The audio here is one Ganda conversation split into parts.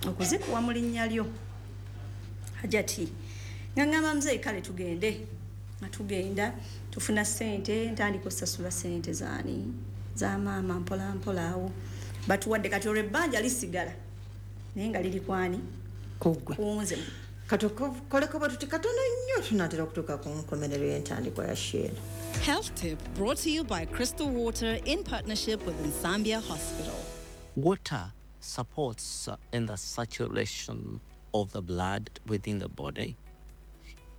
Okuzikuwa mu linnya lyo. Hajati nga ngamba muzeeyi, kale tugende. Nga tugenda, tufuna sente, ntandika osasula sente zaani, za maama, mpola mpola. Awo batuwadde kati olwo ebbanja lisigala, naye nga liri kwani? Kugwe. Kunze. Katukoleko bwe tuti katono nnyo, tunatera okutuuka ku nkomerero y'entandikwa ya sheera. Health Tip brought to you by Crystal Water in partnership with Nsambya Hospital. Water supports in the circulation of the blood within the body.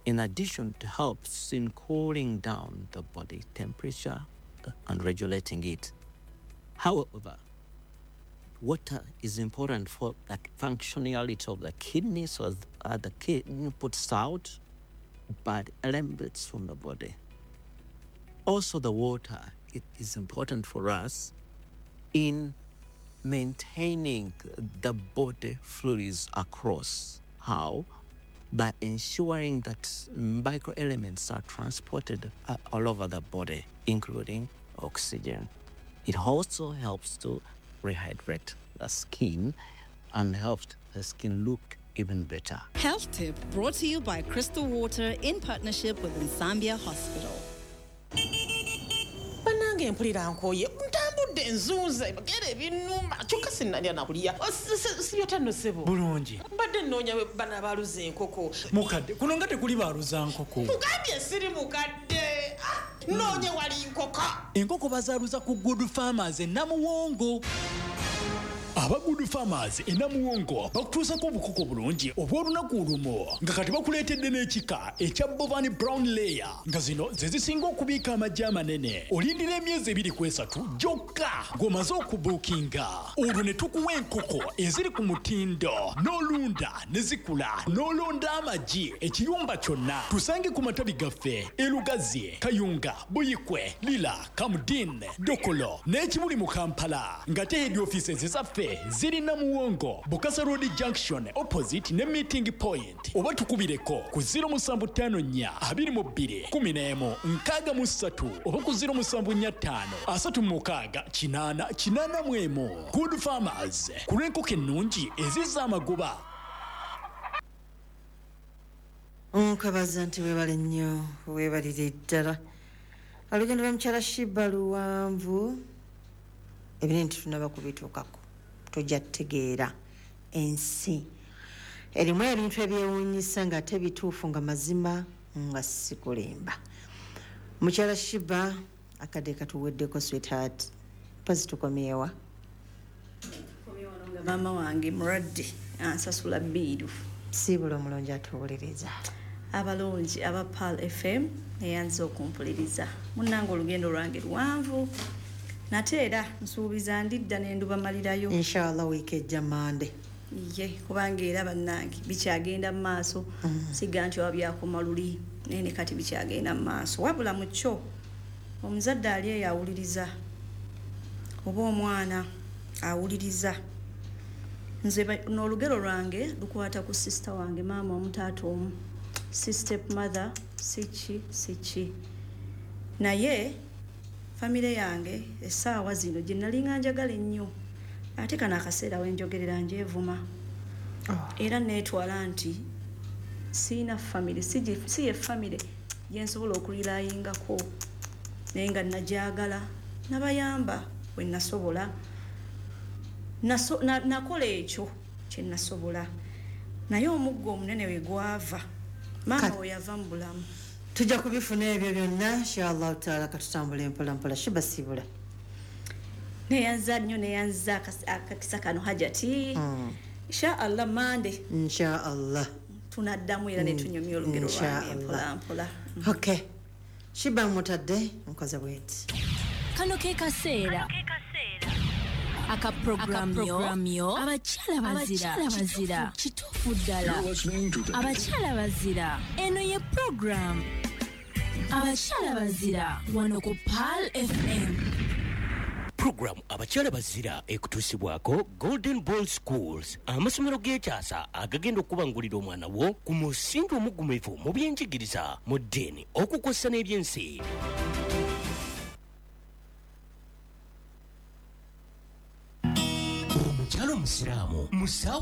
In addition, it helps in cooling down the body temperature and regulating it. However, water is important for the functionality of the kidney, so that the kidney puts out bad elements from the body. Also, the water, it is important for us in maintaining the body fluids across. How? By ensuring that microelements are transported all over the body, including oxygen. It also helps to rehydrate the skin and helps the skin look even better. Health Tip brought to you by Crystal Water in partnership with Nsambya Hospital. Bannange, mpulira nkooye, ntambudde, nzunze gera ebinnuma, kyokka sinnalya nakulya. Sibyota nno, ssebo. Bulungi. Mbadde nnoonya bana baaluza enkoko. Mukadde, kuno nga tekuli baaluza nkoko. Mugambye siri mukadde. Ah, noonye wali nkoko. Enkoko bazaaluza ku Good Farmers e Namuwongo. Aba Good Farmers e Namuwongo bakutuusako obukoko bulungi obw'olunaku olumu, nga kati bakuleetedde n'ekika ekya Bovan Brown Layer, nga zino ze zisinga okubiika amagi amanene. Olindira emyezi 2 ku 3 gyokka ng'omaze okubuukinga, olwo ne tukuwa enkoko eziri ku mutindo, n'olunda ne zikula, n'olonda amagi ekiyumba kyonna. Tusange ku matabi gaffe e Lugazi, Kayunga, Buyikwe, Lira, Kamdin, Dokolo n'Ekibuli mu Kampala, nga te head offices zaffe ziri Namuwongo, Bukasa Road Junction, opposite ne Meeting Point, oba tukubireko ku 0754 22 11 63 oba ku 0745 36 8 81. Good Farmers, ku lw'enkoko ennungi ezizza amagoba. Nkabaza nti weebale nnyo, weebalire ddala. Olugendo lwa mukyala Shiba luwanvu, ebinene tetunaba kubituukako. Tojja tutegeera ensi erimu ebintu ebyewuunyisa nga ate bituufu, nga mazima, nga sikulimba. Mukyala Shiba, akadde katuweddeko. Sweetheart, mpozi tukomyewa? Nga maama wange mulwadde, ansasula bill. Siibula omulungi atuwuliriza. Abalungi aba Pearl FM, neyanza okumpuliriza. Munnange, olugendo lwange luwanvu, nate era nsuubiza ndidda nendubamalirayo. Inshallah, wiiki ejja, Mande. Ye, kubanga era bannange bikyagenda mu maaso. Siga nti oba byakoma luli, naye ne kati bikyagenda mu maaso. Wabula mu kyo, omuzadde ali eyo awuliriza oba omwana awuliriza, nze n'olugero lwange lukwata ku sister wange, maama omu taata omu, si step mother, si ki, si ki, naye famire yange essaawa zino gye nalinga njagala ennyo. Ate kano akaseera wenjogerera njeevuma era neetwala nti siina famire, si ye famire gyensobola okurirayingako, naye nga najagala, nabayamba we nasobola. Nakola ekyo kyenasobola, naye omuggo omunene we gwava, maama we yava mu bulamu. Tujja kubifuna ebyo byonna, inshallah taala. Katutambula empola mpola. Shiba, siibula. Neyanza nnyo, neyanza akakisa kano, Hajati. Insha Allah, Mande Insha Allah. tunaddamu era netunyumya olugero lwange. Insha Mpola mpola. Okay, Shiba, mutadde nkoze bweti. Kano ke kaseera aka programu yo Abakyala Bazira. Kituufu ddala, Abakyala Bazira. Eno ye programu Abakyala Bazira wano ku Pearl FM. Puroguramu Abakyala Bazira ekutuusibwako Golden Ball Schools, amasomero g'ekyasa agagenda okubangulira omwana wo ku musingi omugumivu mu byenjigiriza, mu ddiini, okukozesa n'ebyensi. Omukyala omusiraamu musawo.